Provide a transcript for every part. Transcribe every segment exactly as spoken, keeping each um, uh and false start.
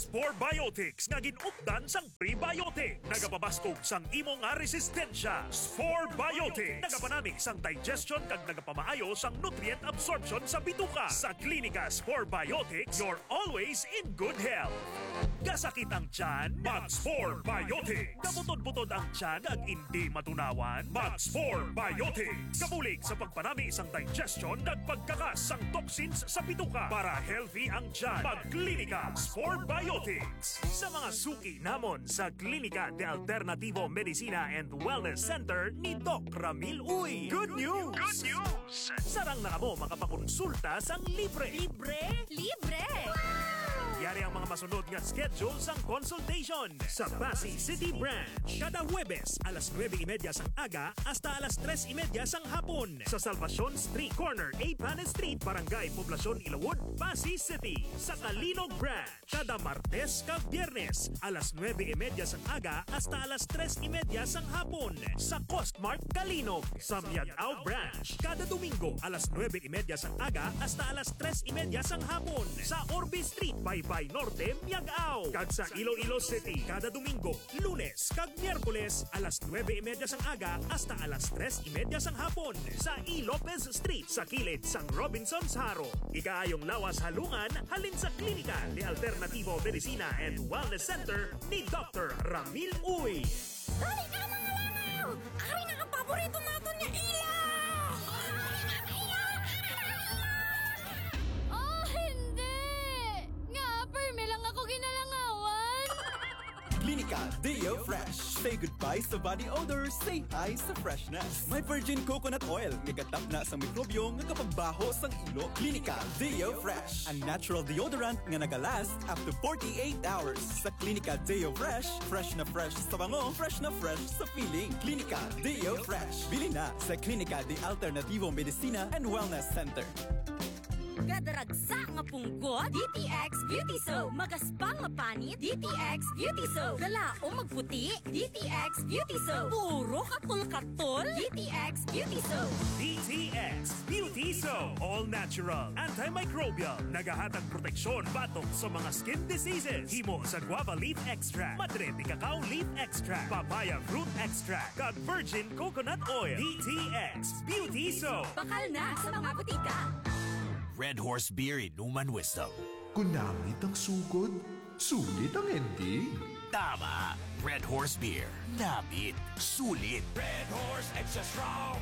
Spore Biotics nga gin-updan sang prebiotic. Nagapabaskog sang imo nga resistensya. Spore Biotics. Nagapanami sang digestion kag nagapamaayo sang nutrient absorption sa bituka. Sa Klinika Spore Biotics, you're always in good health. Kasakit ang tiyan? Mag Spore Biotics. Kabutod-butod ang tiyan kag indi matunawan? Mag Spore Biotics. Kabulig sa pagpanami sang digestion kag pagkakas sang toxins sa bituka para healthy ang tiyan. Mag Klinika Spore Biotics. Sa mga suki namon sa Klinika de Alternativo Medicina and Wellness Center ni Doc Ramil Uy. Good news! Good news! Sarang na kamo makapakonsulta sang libre. Libre? Libre! Yari ang mga masunod nga schedule sang consultation. Sa Passi City Branch, kada Huwebes alas nuebe y media sang aga hasta alas tres y media sang hapon. Sa Salvacion Street, corner Eighth Planet Street, Barangay Poblacion, Ilawod, Passi City. Sa Calinog Branch, kada Martes kag Biyernes, alas nuebe y media sang aga hasta alas tres y media sang hapon, sa Costmart Calinog. Sa Miag-ao Branch, kada Domingo, alas nuebe y media sang aga hasta alas tres y media sang hapon, sa Orbe Street, Baybay Norte, Miag-ao. Kag sa Iloilo City, kada Domingo, Lunes, kag Miyerkules, alas nuebe y media sang aga hasta alas tres y media sang hapon, sa E. Lopez Street, sa kilid sang Robinsons Jaro. Ikaayong lawas halungan halin sa Klinika de Alternativo Medicina and Wellness Center ni Doctor Ramil Uy. Dali na, mga langaw! Ari na ang paborito naton nga ilaw! Oh, hindi! Nga, permi lang ako ginalangawan! Klinika Deo Fresh. Say goodbye sa body odor, say hi sa freshness. May virgin coconut oil nga gatapna sa mikrobyo nga kapagbaho sang ilo. Klinika Deo Fresh, a natural deodorant nga nagalast up to forty-eight hours. Sa Klinika Deo Fresh, fresh na fresh sa bango, fresh na fresh sa feeling. Klinika Deo Fresh. Bili na sa Klinika de Alternativo Medicina and Wellness Center. Gadaragsa nga punggot, D T X Beauty Soap. Magaspang nga panit, D T X Beauty Soap. Galaom magputi, D T X Beauty Soap. Puro katol-katol, D T X Beauty Soap. D T X Beauty Soap. All natural, antimicrobial. Nagahatag proteksyon batok sa mga skin diseases. Himo sa guava leaf extract, madre de cacao leaf extract, papaya fruit extract, kag virgin coconut oil. D T X Beauty Soap. Bakal na sa mga butika. Red Horse Beer, Inuman Wisdom. Kung namit ang sugod, sulit ang ending. Tama! Red Horse Beer. Namit. Sulit. Red Horse Extra Strong.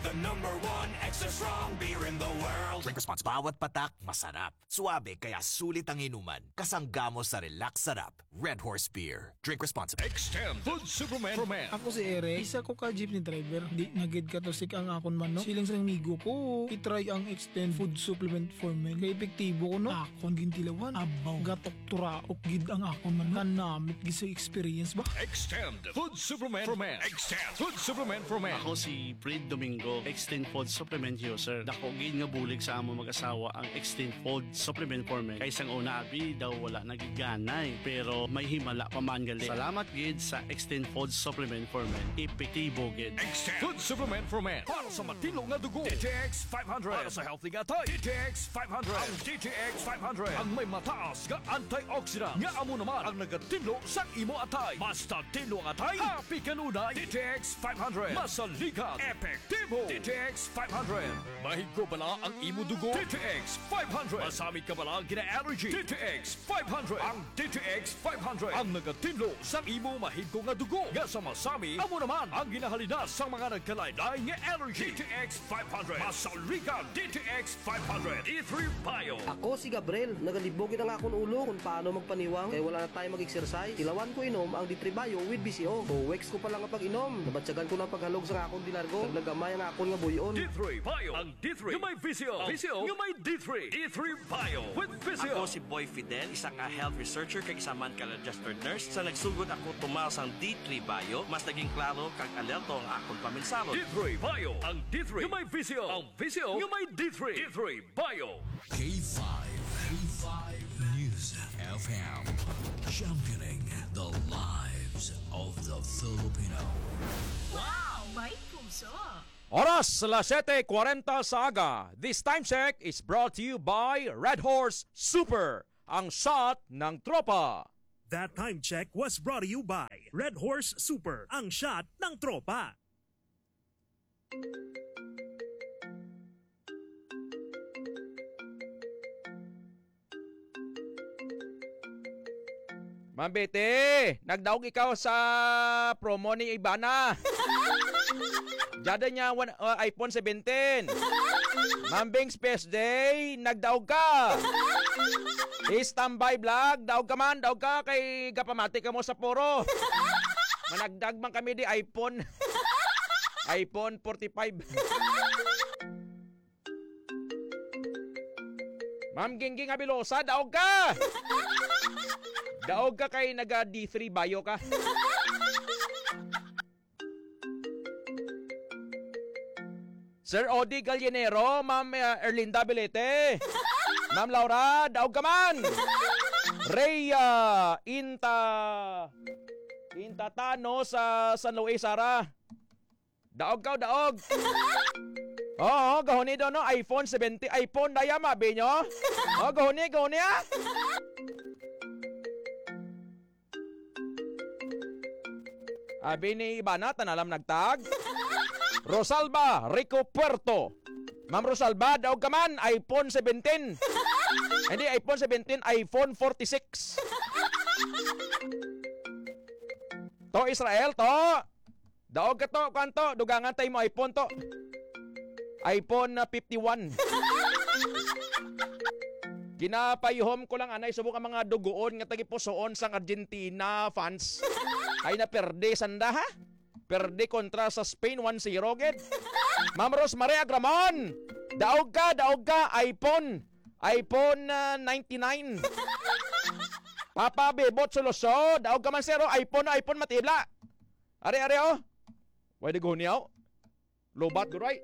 The number one extra strong beer in the world. Drink responsible. Bawat patak, masarap. Suabe, kaya sulit ang inuman. Kasangga mo sa relax sarap. Red Horse Beer. Drink responsibly. Extend Food Supplement for Men. Ako si Eric, isa ko ka jeepney driver. Di na gid katusik ang akon manok. Siling sa amigo ko, i-try ang Extend Food Supplement for Men. Kay epektibo ko, no? Akon gintilawan. Abaw, gatok turaok gid ang akon manok. Kanamit gid sa experience ba? Extend Food Supplement for Men. Extend Food Supplement for Men. Ako si Fred Domingo, Extend Food Supplement User. Dako gid nga bulig sa among mag-asawa ang Extend Food Supplement for Men. Kay sang una, abi, daw wala na gid ganay, pero may himala pa man gali. Salamat gid sa Extend Food Supplement for Men. Epektibo gid. Extend Food Supplement for Men. Para sa matinlo nga dugo, D T X five hundred. Para sa healthy nga atay, D T X five hundred. Ang D T X five hundred ang may mataas nga antioxidant nga amo naman ang nagatinlo sang imo atay. Basta tinlo ang atay, happy kanunay. D T X five hundred. Masaligan, epektibo. D T X five hundred. Mahigko bala ang imo dugo? D T X five hundred. Masamit ka bala gina-allergy? D T X five hundred. Ang D T X five hundred ang nagatinlo sang imo mahigko nga dugo nga sa masami, amo naman ang ginahalinas sang mga nagkalain-lain nga allergy. D T X five hundred. Masaligan, D T X five hundred. D three Bio. Ako si Gabriel. Nagalibog gid ang akon ulo kung paano magpaniwang kay wala na tayo mag-exercise. Tilawan ko inom ang D three Bio with B C O. Two weeks ko pa lang nga pag-inom, nabatyagan ko na ang paghalog sa akon dinargo. Naglagamay ang akon nga buy-on. D three Bio. Ang D three nga may V C O. V C O nga may D three. D three Bio with V C O. Ako si Boy Fidel, isa nga health researcher kag isa man ka registered nurse. Sa nagsugod ako tumaw sang D three Bio, mas naging klaro kag alerto ang akon paminsaro. D three Bio. Ang D three nga may V C O. Ang V C O nga may D three. D three Bio. K five. K five News F M. Championing the lives of the Filipino. Wow! May puso! Oras, alas siyete kwarenta sa aga. This time check is brought to you by Red Horse Super. Ang shot ng tropa. That time check was brought to you by Red Horse Super, ang shot ng tropa. Ma'am Betty, nagdaog ikaw sa promo ni Ivana. Jada niya one, uh, iPhone seventeen. Ma'am Bing Space Day, nagdaog ka. Standby Vlog, daog ka man, daog ka kay gapamati ka mo sa puro. Managdag man kami di iPhone. iPhone forty-five. Ma'am Gingging Abilosa, daog ka! Daog ka kay naga D three bio ka. Sir Odi Gallinero, Ma'am, uh, Erlinda Belete. Ma'am Laura, daog ka man. Rhea Inta Intatano sa San Luis, Sara. Daog ka, daog. Oo, gahoni daw, no? iPhone seventy, iPhone na yan, mabi nyo? Oh, gahoni, gahoni, ah. Abi ni Ibana, tanalam nagtag. Rosalba Rico Puerto. Ma'am Rosalba, daog ka man, iPhone seventeen. Hindi, iPhone seventeen, iPhone forty-six. To, Israel, to. Daog ka to, kwan to, dugangan tayo mo iPhone to. iPhone na fifty-one. Ginapayuhom ko lang, anay, subong ang mga dugoon nga tagipusoon sang Argentina fans ay naperde sanda, ha? Perde kontra sa Spain, one zero, gid. Ma'am Rosemary Agramon, daog ka, daog ka, iPhone. iPhone, ah, ninety-nine. Papa Bebot Soloso, daog ka man, sir, oh. iPhone, oh, iPhone, matibla. Ari, ari, oh. Way di guniaw. Lobat, guray.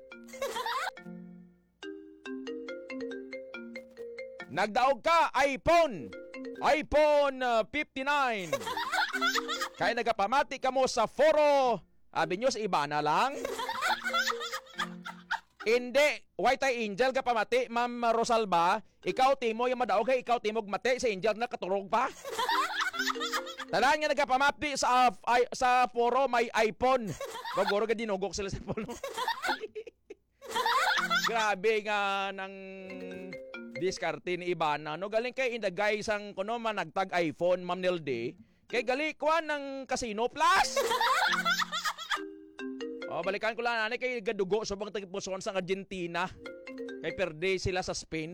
Nagdaog ka, iPhone. iPhone, uh, fifty-nine. Kay nagapamati ka mo sa foro. Abi nyo, sa iba na lang. Hindi. Way tay angel ka pamati, Ma'am Rosalba. Ikaw, Timo, yung madaog, hey, ikaw, Timo, mati, sa angel na katurog pa. Tanan nga nagapamati sa, ay, sa foro, may iPhone. Gogoro ka dinugok sila sa puno. Grabe nga nang diskarte ni Ibana, no? Galing kay in the guise ang kuno man nagtag iPhone, Ma'am Nilde. Kay gali kuan ng Casino Plus. Oh, balikan ko lang, ani, kay gadugo subong tagipusoon sa Argentina. Kay perde sila sa Spain.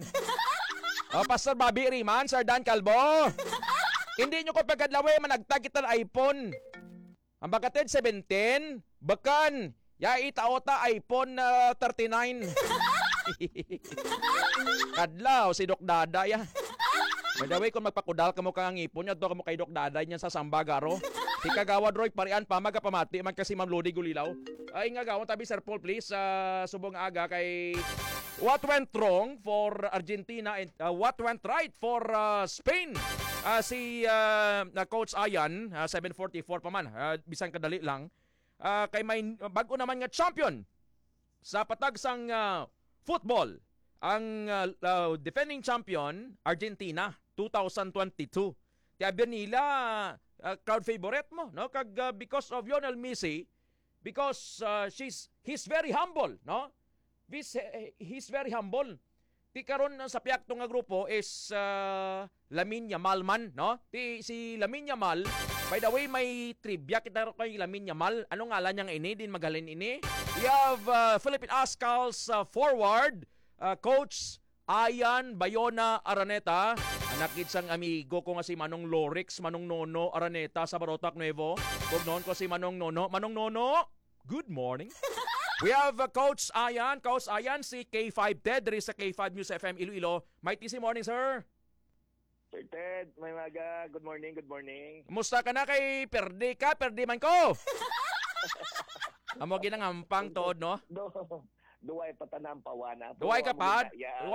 Oh, Pastor Bobby Riman, Sir Dan Calvo. Hindi nyo ko pagkadlawi, managtag kita ng iPhone. Ang bagatid seventeen, bakan, ya itaota iPhone, ah, thirty-nine. Kadlaw, si Doc Dada, ya. By the way, kung magpakudal ka mo kang ngipon, yadto ka mo kay Doc Dada niya sa Sambagaro. Si Kagawad Roy Parian pa, magapamati man kasi Ma'am Lodi Gulilaw. Ay, nga gawon tabi, Sir Paul, please, ah, subong aga kay what went wrong for Argentina and, ah, what went right for, ah, Spain? Ah, si, ah, na Coach Ayan, ah, seven forty-four pa man, ah, bisan kadali lang. Ah, kay may bag-o naman nga champion sa patag sang, ah, football, ang, ah, ah, defending champion, Argentina, two thousand twenty-two. Kaya nila, ah, crowd favorite mo, no? Kag, ah, because of Lionel Messi, because, ah, she's, he's very humble, no? He's, he's very humble. Ti karon, ah, sa piyakto nga grupo is, ah, Lamine Yamal man, no? Ti si Lamine Yamal, by the way, may trivia kita ro kay Lamine Yamal. Ano ngalan niya nga ini? Din maghalin ini. We have, ah, Philippine Ascals, ah, forward, ah, Coach Ayan Bayona Araneta. Anak gid sang amigo ko nga si Manong Lorix, Manong Nono Araneta sa Barotac Nuevo. Tugnaon ko si Manong Nono. Manong Nono, good morning. We have, uh, Coach Ayan. Coach Ayan, si K five Ted, diri sa K five News F M Iloilo. Mighty si morning, sir. Sir Ted, may maga. Good morning, good morning. Kumusta ka na kay perdi ka? Perdi man ko. Amo ginangampang tuod, no? Do, duway pa tanampawana. Duway ka pa? Yeah,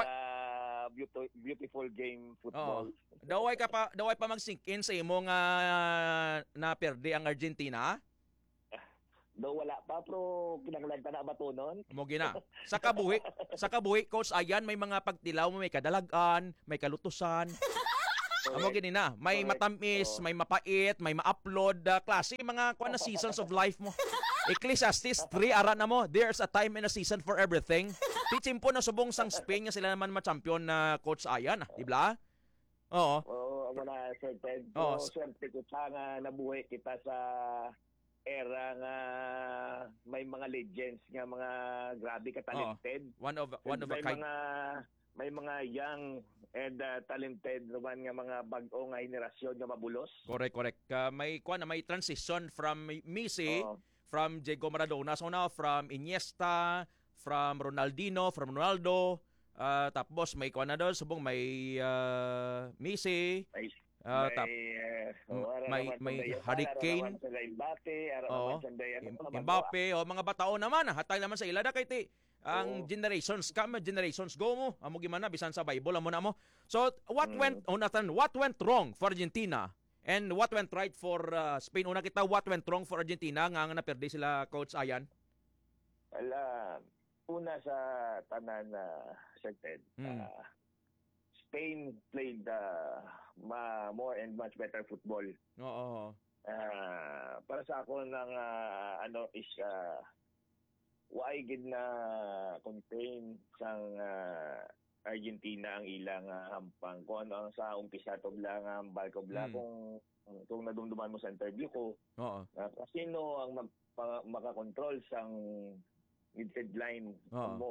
beautiful, beautiful game football. Oo. Duway ka pa, duway pa mag-sink in sa imo nga na perdi ang Argentina? Daw wala pa, pero kinahanglan ta na batunon. Mo gina. Sa kabuhi, sa kabuhi, Coach Ayan, may mga pagtilaw mo, may kadalag-an, may kalutusan. Amo gini na, may matamis, may mapait, may ma-upload, ah, klase, mga kuan na seasons of life mo. Ecclesiastes three, ara na mo, "There's a time and a season for everything." Ti tiyempo na subong sang Spain nga sila naman ma-champion na, Coach Ayan, ah, di ba? Oo. Oo, amo na, Sir Ted. Oo, so, s- swerte kita nga nabuhi kita sa era nga may mga legends nga mga grabe ka talented. Oo. One of, one of a kind. May mga, may mga young and, ah, talented naman nga mga bag-o nga henerasyon nga mabulos. Correct, correct. Ah, may, kuwan na, may transition from Messi, Oo. from Diego Maradona, so now from Iniesta, from Ronaldinho, from Ronaldo, ah, tapos may kuwan na daw, subong may, ah, Messi, May, ah, may, tap-, eh, m-, oh, ara may, naman may sila, Harry ara Kane. Naman sila Mbappe, ara Oo. naman sila, ano, Im-, mga Mbappe, bata. Oh, mga batao naman, ah, hatay naman sa ila da kay ti-, ang Oo. generations come, generations go mo. Amo gimana, bisan sa Bible, amo na mo. So, what Mm. went, oh, Nathan, what went wrong for Argentina? And what went right for, ah, Spain? Una kita, what went wrong for Argentina nga, nga naperde sila, Coach Ayan? Well, ah, una sa tanan, ah, Sir Ted, Mm. ah, Spain played, ah, ma-, more and much better football. Oo. Ah, para sa ako, nang, ah, ano is, ah, why gid na contain sang, ah, Argentina ang ilang, ah, hampang? Kung ano ang sa umpisa to bla nga hambal ko bla, Mm. kung, kung nadumduman mo sa interview ko, Oo. ah, kung sino ang mag-, pa-, makakontrol sang midfield line Oo. mo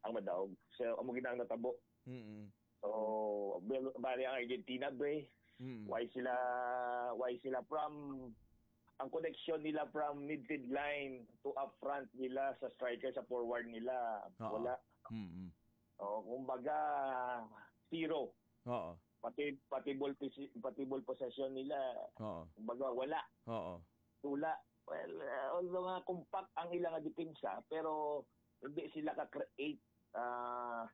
ang madaog. So, amo gid ang natabo. Mm-mm. So, bel-, bali ang Argentina, be, Mm. why sila, why sila from, ang connection nila from midfield line to up front nila sa striker, sa forward nila, Oo. wala. Mm-mm. O, kumbaga, zero. Oo. Pati, pati ball posi-, pati ball possession nila, Oo. kumbaga, wala. Oo. Wala. Well, uh, although nga compact ang ilang depensa, pero hindi sila ka-create, ah,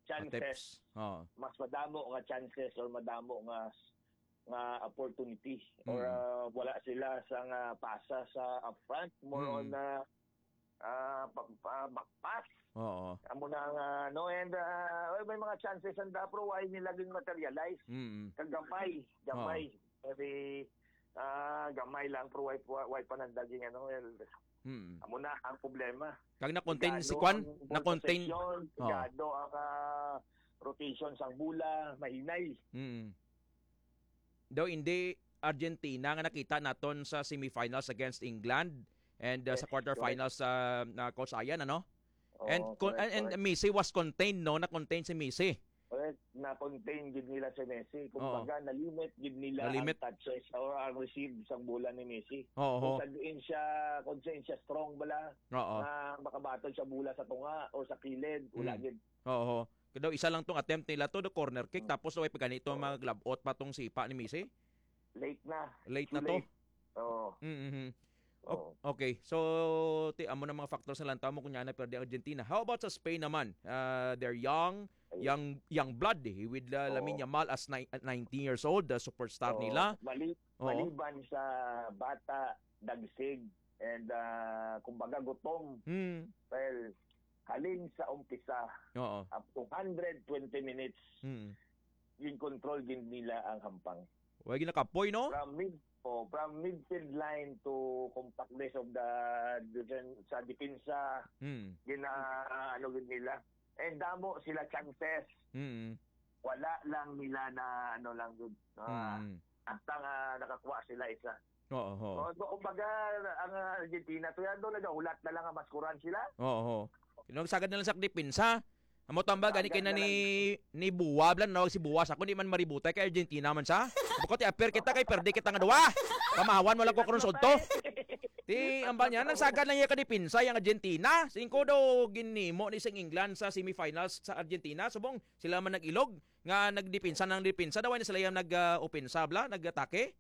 chances. Attempts. Oo. Mas madamo nga chances or madamo nga, nga opportunity. Or, Mm. ah, wala sila sa nga pasa sa upfront. More Mm. on, ah, ah, pa-, pa-, back pass. Oo. Amo na nga, no? And, ah, well, may mga chances ang da, pero why nila gin-materialize? Mm. Kagamay, gamay. Oo. Very, ah, gamay lang, pero why, why, why pa nang daging, ano, well, Mm. amo na ang problema. Kag na-contain si Gano Kwan? ang ball Na-contain? Possession, Oo. Gado ang, ah, rotation sang bola, mahinay. Mm. Daw hindi Argentina nga nakita naton sa semifinals against England and, uh, sa Yes, quarterfinals correct. sa, uh, Coach Ayan, ano? And Oo, con-, correct, and, and correct. Messi was contained, no? Na-contain si Messi. Correct, na-contain gid nila si Messi. Oo. Kumbaga, nalimit gid nila Nalimit. ang touches or ang receive sang bola ni Messi. Oo. Kung sa diin siya, kung sa diin siya strong bala, Oo. na makabaton sa bola sa tunga or sa kilid, wala Mm. gid. Oo. Kaya daw isa lang tong attempt nila to, the corner kick, Mm. tapos way pa ganito, Oo. mga glove out pa tong sipa ni Messi. Late na. Late Too na to. late. Oo. Mm-hmm. O-, Oo. okay. So, ti-, amo na mga factors na lang tamo kung na perde ang Argentina. How about sa Spain naman? Ah, they're young, Ay. young, young blood eh, with, ah, Oo. Lamine Yamal as ni-, at nineteen years old, the superstar Oo. nila. Mali-, Oo. maliban sa bata, dagsig, and, ah, kumbaga gutom. Hmm. Well, halin sa umpisa, Oo. up to hundred twenty minutes, Hmm. gin-control gid nila ang hampang. Way ginakapoy, no? From mid-, oh, from midfield line to compactness of the defen-, sa depensa, Hmm. gina-, ano gid nila. And damo sila chances. Hmm. Wala lang nila na, ano lang gid, ah, Hmm. hasta nga nakakuha sila isa. Oo, oo. Oh, so, kumbaga, ang, ah, Argentina, to yan, doon, nagahulat na lang ang maskuran sila. Oo, oo. Nung sagad na lang sa depensa, amo tamba, gani kay na ni, ni Buwa, blan, nawag si Buwa sa ako, di man maributay kay Argentina man sa. Bukod ti appear kita kay perde kita nga duwa. Pamahawan mo lang ko karon sa udto. Ti, ang ba niya, nang sagad lang iya ka depensa, yung Argentina. Singko daw ginimo ni sing England sa semifinals sa Argentina. Subong, sila man nag-ilog, nga nagdepensa ng depensa. Daw, wala sila yung nag, ah, opensa, bla, nag-atake.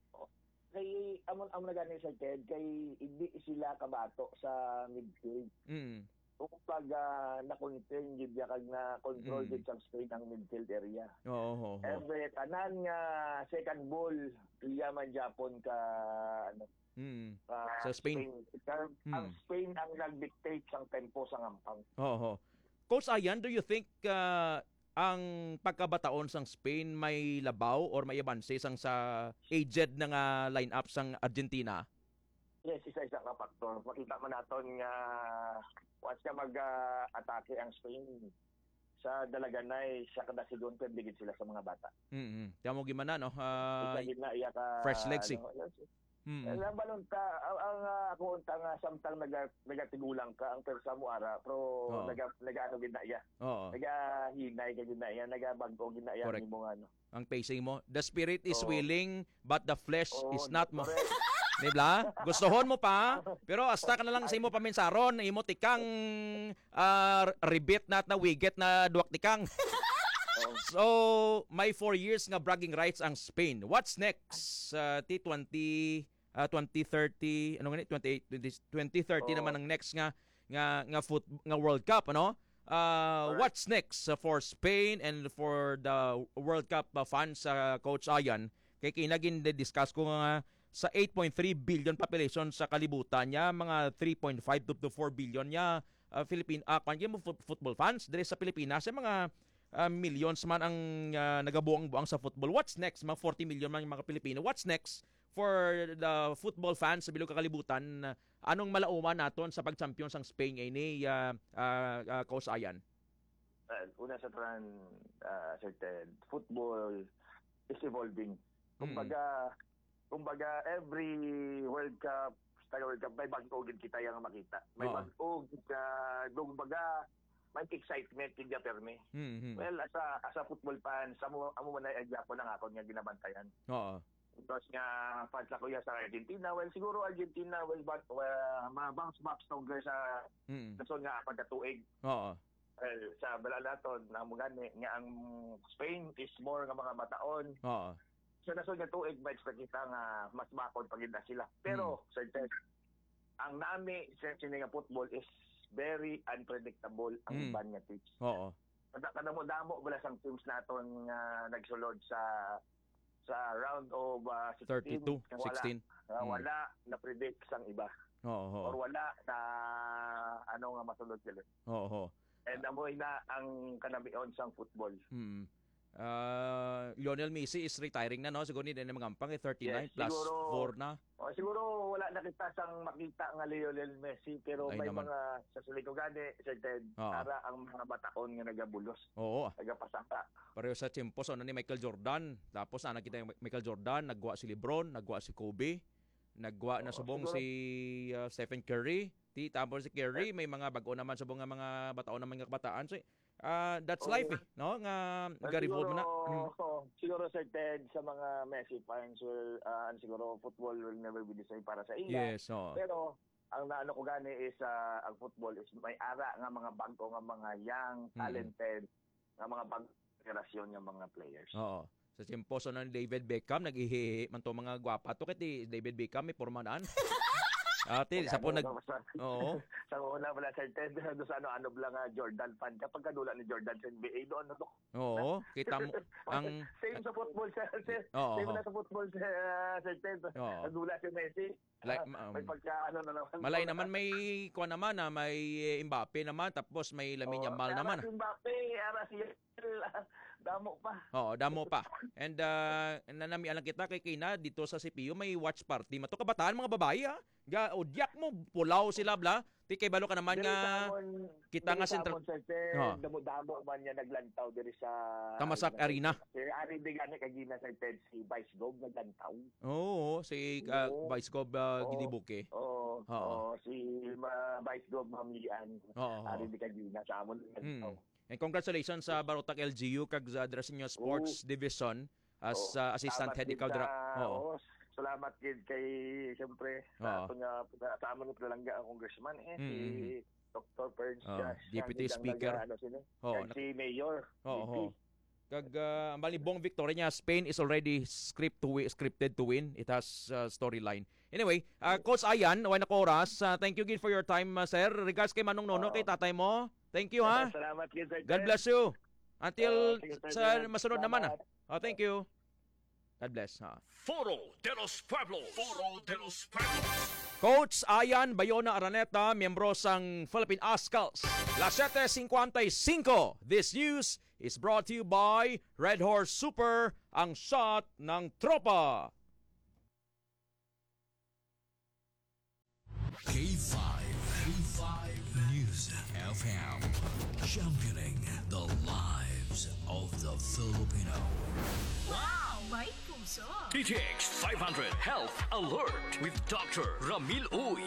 Kay, amo, amo na gani, Sir Ted, kay hindi sila kabato sa midfield. Mm. Kung pag, ah, na-contain gid niya, kag na-control Mm. gid sa Spain ang midfield area. Oo, oo, oo. Every, tanan nga second ball, iya man Japon ka, ano, Mm. ka Sa Spain. Spain. Ka-, Mm. ang Spain ang nag-dictate sang tempo sa ngampang. Oo, oo. Coach Ayan, do you think, ah, ang pagkabataon sang Spain may labaw or may abanse sang sa aged na nga lineup sang Argentina? Yes, isa-isa ka factor. Makita man naton nga once nga mag, ah, atake ang Spain, sa dalaganay, sa kada segundo, ligid sila sa mga bata. Mm-mm. Kaya mo gimana, no? Ah, Isa gid na iya ka, fresh legs, eh. ano, ano, Mm. Ang balon ka, ang, ang, ah, ako unta nga samtang naga-, nagatigulang ka, ang persa mo ara, pero Oo. naga-, nagaano gid na iya. Oo. Nagahinay ka gid na iya, nagabag-o gid na iya Correct. nimo nga ano. Ang pacing mo, "The spirit is Oo. willing, but the flesh Oo, is not," mo. correct. Di ba? Gustuhon mo pa, pero hasta ka na lang sa imo paminsaron, imo tikang, ah, ribit na at nawiget na duwak tikang. Oo. So, may four years nga bragging rights ang Spain. What's next? Ah, T twenty, ah, twenty thirty, ano nga ni? Twenty-eight, twenty, twenty thirty Oo. naman ang next nga, nga, nga foot-, nga World Cup, ano? Ah, Correct. what's next, uh, for Spain and for the World Cup, uh, fans, uh, Coach Ayan? Kay kinagin discuss ko nga sa eight point three billion population sa kalibutan niya, mga three point five to, to four billion niya, uh, Philippine, uh, kwan, yung fut-, football fans diri sa Pilipinas, yung mga, uh, millions man ang, uh, nagabuang-buang sa football. What's next? Mga forty million man yung mga Pilipino. What's next for the football fans sa bilog ka kalibutan? Anong malauman naton sa pag-champion sang Spain ini, ah, ah, ah, Coach Ayan? Well, una sa tanan, ah, Sir Ted, football is evolving. Mm. Kumbaga, kumbaga, every World Cup, taga World Cup, may bag-o gid kita yang makita. May Oo. bag-o gid ka, kumbaga, may excitement gid ka, permi. Mm-hmm. Well, as a, as a football fan, amo, amo man ay gyapon ang akon nga ginabantayan. Oo. Because nga, fans ako yan sa Argentina. Well, siguro Argentina will ba-, well, ma-bounce back stronger sa Mm. nasod nga apat ka tuig. Oo. Well, sa bala naton, na mo gani, nga ang Spain is more nga mga bataon. Oo. Sa nasod nga tuig, ma-expect kita nga mas bakod pa gid na sila. Pero, Mm. sa ang nami sa sini nga football is very unpredictable ang Mm. iban nga teams. Oo. Kada, kadamo-damo bala sang teams naton nga nagsulod sa, sa round of, ah, sixteen, Thirty-two, nga wala, sixteen. nga Mm. wala na-predict sang iba. Oo, oo. Or wala na, ano, nga masulod sila. Oo, oo. And amo na ang kanamion sang football. Mm. Ah, Lionel Messi is retiring na, no? Siguro ni din mangampang, eh, thirty-nine Yes, plus siguro, four na. oh, siguro wala na kita sang makita nga Lionel Messi, pero Ay may naman. mga sa sulit ko gani, Sir Ted, Oo. ara ang mga bataon nga nagabulos, Oo. nagapasaka. Pareho sa tiyempo, so, ano ni Michael Jordan. Tapos, ana kita yung Michael Jordan, nagwa si LeBron, nagwa si Kobe, nagwa na Oo, subong siguro. si, ah, Stephen Curry. Ti, tapos si Curry, Eh. may mga bag-o naman subong nga mga bataon naman nga kabataan. So, ah, that's Oo. life, eh, no? Nga Well, nag-revolve na. siguro, Mm. oo, siguro, Sir Ted, sa mga Messi fans, well, ah, siguro football will never be the same para sa ila. Yes, oo. Pero ang naano ko gani is, ah, ang football is may ara nga mga bag-o nga mga young, Mm. talented, nga mga bag-o generasyon nga mga players. Oo. Sa tiyempo sa ni David Beckham, nag-ihihi man to mga gwapa to. Kay ti David Beckham, may porma naan. Ati, Kaya sa po ano, nag-, no, sa, oo. sa una pala, Sir Ted, doon sa ano, ano lang nga Jordan fan ka, pagkadula ni Jordan sa N B A, doon na to. Oo, kita mo, ang Same sa football, sir. Sir, Oo, same oo. na sa football, sir, ah, Sir Ted. Oo. Nagdula si Messi. Like, Ah, um, may pagka, ano na naman. Malay naman may, kuwan naman, ah, may, eh, Mbappe naman, tapos may Lamine Oo, Yamal kaya naman. si Mbappe, ara si Yamal, damo pa. Oo, damo pa. And, ah, nanami lang kita kay Kina dito sa C P U, may watch party. Mato kabataan, mga babae, ah. Ga, udyak mo, pulaw sila, bla. Ti kay balo ka naman Diri nga sa amon, kita diri nga sa sentral-, amon, Sir Ted, Oo. damo-damo man niya naglantaw diri sa Tamasak Arena. Sir, ari di gani kagina, Sir Ted, si Vice Gov naglantaw. Oo, si, ah, Oo. Vice Gov, ah, Oo. Ginibuke. Oo, Oo. oo, si, ah, Vice Gov Ma'am Lian. Oo, oo. Ari di kagina sa amon Mm. naglantaw. And congratulations sa Barotac L G U kag sa, dira sa inyo sports Oo. division as, Oo. ah, assistant Salamat head din ikaw dira. sa, Oo. oo, salamat gid kay, siyempre, sa Oo. aton nga, sa amon nga palangga ang congressman, eh, si Mm, mm. Doktor Prince Oo, Josh, Deputy siya ang Speaker. nag-, ano, sila, Oo, kag nak-, si Mayor, Oo, V P. oo. Kag, ah, ang balibong victory niya, Spain is already script to wi-, scripted to win. It has, ah, storyline. Anyway, ah, Coach Ayan, way na ko oras. Ah, thank you again for your time, ah, sir. Regards kay Manong Nono, Oo. kay tatay mo. Thank you, ha? Salamat gid, Sir God Ted. bless you. Until Oo, sige, Sir sa Ted. masunod naman, ah. Salamat. Oh, thank you. God bless, ha? Foro de los Pueblos. Foro de los Pueblos. Coach Ayan Bayona Araneta, miyembro sang Philippine Oscals. Las siete cincuenta y cinco. This news is brought to you by Red Horse Super, ang shot ng tropa. K five, K five News F M, championing the lives of the Filipino. Wow! May puso! D T X five hundred Health Alert with Doctor Ramil Uy.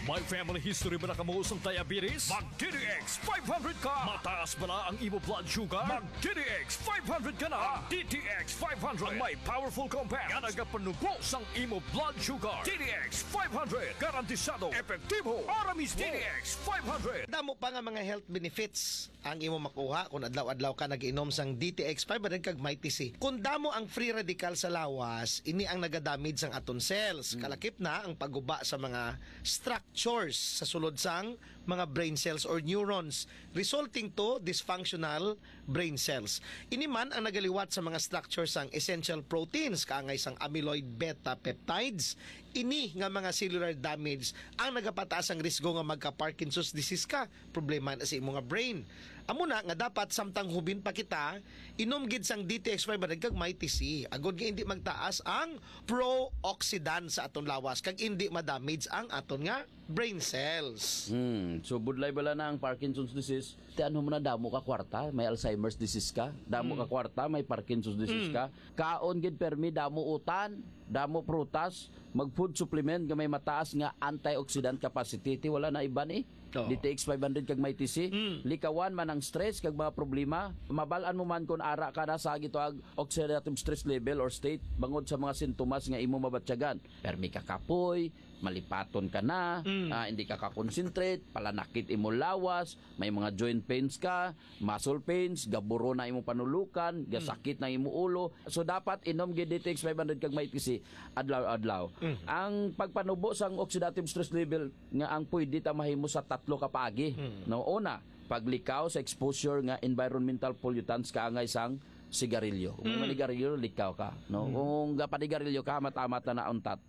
May family history ba na kamo sang diabetes? Mag D T X five hundred ka! Mataas bala ang imo blood sugar? Mag D T X five hundred ka na! Ang D T X five hundred ang may powerful compound nga nagapanubo sang imo blood sugar. D T X five hundred, garantisado, epektibo, para mismo. D T X five hundred. Damo pa nga mga health benefits ang imo makuha kung adlaw-adlaw ka nag-inom sang D T X five hundred kag Mighty C. Kung damo ang free radical sa lawas, ini ang nagadamage sang aton cells. Hmm. Kalakip na ang pagguba sa mga structures sa sulod sang mga brain cells or neurons, resulting to dysfunctional brain cells. Ini man ang nagaliwat sa mga structure sang essential proteins, kaangay sang amyloid beta peptides. Ini nga mga cellular damage ang nagapataas ang risgo nga magka-Parkinson's disease ka. Problema na sa imo nga brain. Amo na nga dapat samtang hubin pa kita, inom gid sang D T X five hundred kag Mighty C, agod nga hindi magtaas ang pro-oxidant sa aton lawas kag hindi ma-damage ang aton nga brain cells. Hmm, so budlay bala na ang Parkinson's disease. Ti ano mo na, damo ka kwarta, may Alzheimer's disease ka, damo ka kwarta, may Parkinson's disease ka. Kaon gid permi, damo utan, damo prutas, mag food supplement nga may mataas nga antioxidant capacity. Ti wala na iban eh. Oo. D T X five hundred kag Mighty C. Likawan man ang stress kag mga problema. Mabal-an mo man kung ara ka na sa gitawag oxidative stress level or state bangod sa mga sintomas nga imo mabatyagan. Permi ka kapoy, malipaton ka na, ah, hindi ka ka-concentrate, palanakit imo lawas, may mga joint pains ka, muscle pains, gaburo na imo panulukan, gasakit na imo ulo. So dapat inom gid D T X five hundred kag Mighty C adlaw-adlaw. Ang pagpanubo sang oxidative stress level nga ang pwede ta mahimo sa tatlo ka paagi. No, una, paglikaw sa exposure nga environmental pollutants kaangay sang sigarilyo. Kung manigarilyo, likaw ka, no? Kung gapanigarilyo ka, mata-mata na untat.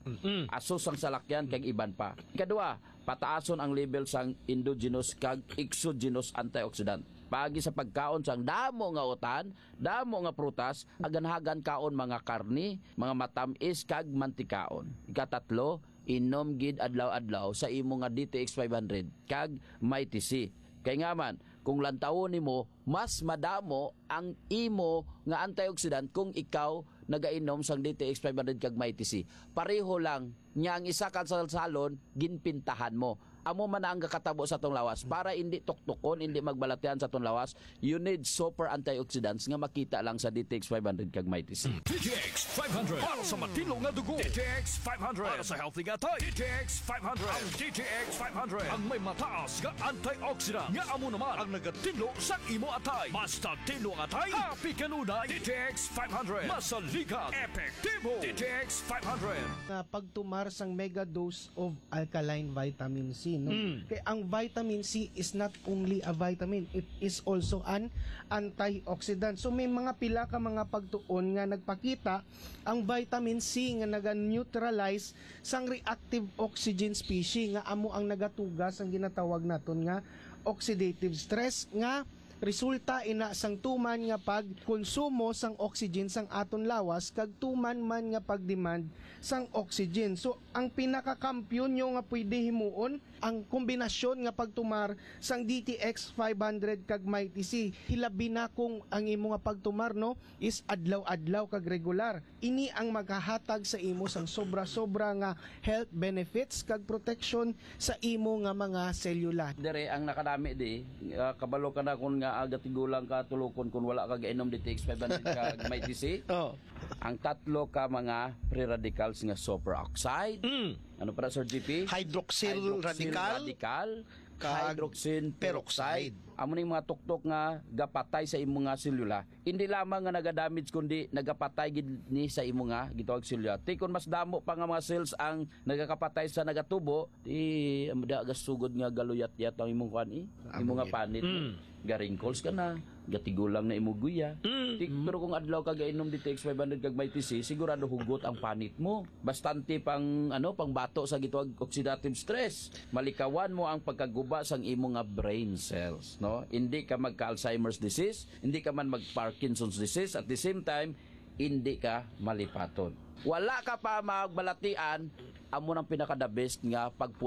Aso sang salakyan kag iban pa. Ikadua, pataason ang level sang endogenous kag exogenous antioxidant. Paagi sa pagkaon sang damo nga utan, damo nga prutas, aganhagan kaon mga karni, mga matamis kag mantikaon. Ikatatlo, inom gid adlaw-adlaw sa imo nga D T X five hundred kag Mighty C. Kay nga man, kung lantawon nimo, mas madamo ang imo nga antioxidant kung ikaw nagainom sang D T X five hundred kag Mighty C. Pareho lang niya ang isa ka salsalon, ginpintahan mo. Amo man na ang gakatabo sa atong lawas. Para hindi tuktukon, hindi magbalatian sa atong lawas, you need super antioxidants nga makita lang sa D T X five hundred kag Mighty C. D T X five hundred para sa matino nga dugo. D T X five hundred para sa healthy nga atay. D T X five hundred. Ang D T X five hundred ang may mataas nga antioxidant nga amo naman ang nagatinlo sa imo atay. Basta tinlo ang atay, happy kanunay. D T X five hundred. Masaligan. Epektibo. D T X five hundred. Nga pagtumar sang mega dose of alkaline vitamin C, no? Mm. Kay ang vitamin C is not only a vitamin, it is also an antioxidant. So may mga pila ka mga pagtuon nga nagpakita ang vitamin C nga naga-neutralize sang reactive oxygen species nga amo ang nagatuga sang ginatawag naton nga oxidative stress nga resulta ina sang tuman nga pagkonsumo sang oxygen sang aton lawas kag tuman man nga pag-demand sang oxygen. So, ang pinakakampiyon nyo nga pwede himuon, ang kombinasyon nga pagtumar sang D T X five hundred kag Mighty C. Hilabi na kung ang imo nga pagtumar, no, is adlaw-adlaw kag regular. Ini ang maghahatag sa imo sang sobra-sobra nga health benefits kag protection sa imo nga mga selula. Dire ang nakadami di, ah, kabalo ka na kun nga, ah, gatigulang ka tulukon kun wala ka gainom D T X five hundred kag Mighty C. Oh. Ang tatlo ka mga free radicals nga superoxide. Mm. Ano para, Sir G P? Hydroxyl radical. Radical, kag hydroxyl peroxide. Peroxide. Amo ning mga tuktok nga gapatay sa imo nga selula. Hindi lamang nga nagadamage, kundi nagapatay gid ni sa imo nga gitawag selula. Ti kon mas damo pa nga mga cells ang nagakapatay sa nagatubo, di, da, gasugod nga galuyat-yat ang imong kuan, eh. Imo nga panit mo. Mm. Ga-wrinkles ka na, gatigulang na imo guya. Mm. Ti, pero kung adlaw ka gainom D T X five hundred kag Mighty C, sigurado hugot ang panit mo. Bastante pang, ano, pang bato sa gitawag oxidative stress. Malikawan mo ang pagkaguba sang imo nga brain cells, no? no? Hindi ka magka-Alzheimer's disease, hindi ka man mag-Parkinson's disease, at the same time, hindi ka malipaton. Wala ka pa magbalatian, amo nang pinaka-the best nga pag